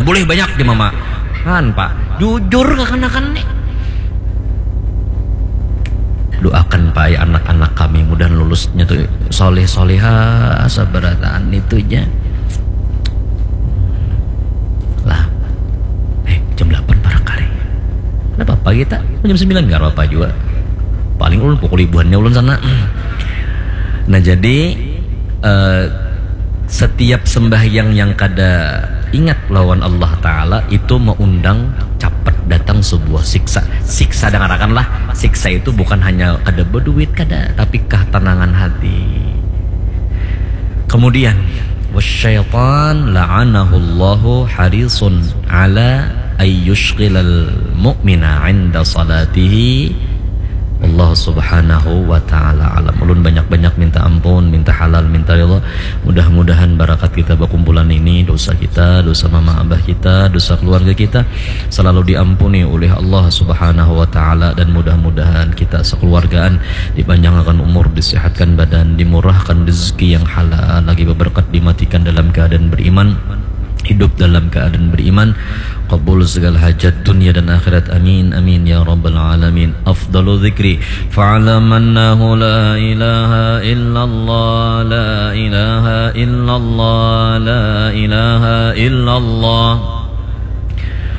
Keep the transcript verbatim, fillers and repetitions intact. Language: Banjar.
Boleh banyak di mama. Kan, Pak. Jujur kakanakan nih. Doakan, Pak, ya, anak-anak kami mudahan lulusnya tuh soleh soleha sabarataan itu aja. Lah. Eh, jam delapan parak hari. Kenapa pagi tak? Jam sembilan gak apa-apa juga. Paling ulun pukul ibuannya ulun sana. Nah, jadi eh, setiap sembahyang yang kada ingat lawan Allah Ta'ala itu mengundang capet datang sebuah siksa. Siksa, dengarkanlah, siksa itu bukan hanya kada berduit, kada, tapi ketenangan hati. Kemudian, wasyaitan la'anahullahu harisun ala ayyushghilal mu'mina inda salatihi. Allah subhanahu wa ta'ala alam. Ulun banyak-banyak minta ampun, minta halal, minta ridha. Mudah-mudahan barakat kita bakumpulan ini, dosa kita, dosa mama abah kita, dosa keluarga kita selalu diampuni oleh Allah subhanahu wa ta'ala. Dan mudah-mudahan kita sekeluargaan dipanjangkan umur, disehatkan badan, dimurahkan rezeki yang halal, lagi berberkat, dimatikan dalam keadaan beriman, hidup dalam keadaan beriman, kabul segala hajat dunia dan akhirat. Amin, amin, ya rabbal alamin. Afdalu dzikri fa'lam annahu la ilaha illallah, la ilaha illallah, la ilaha illallah.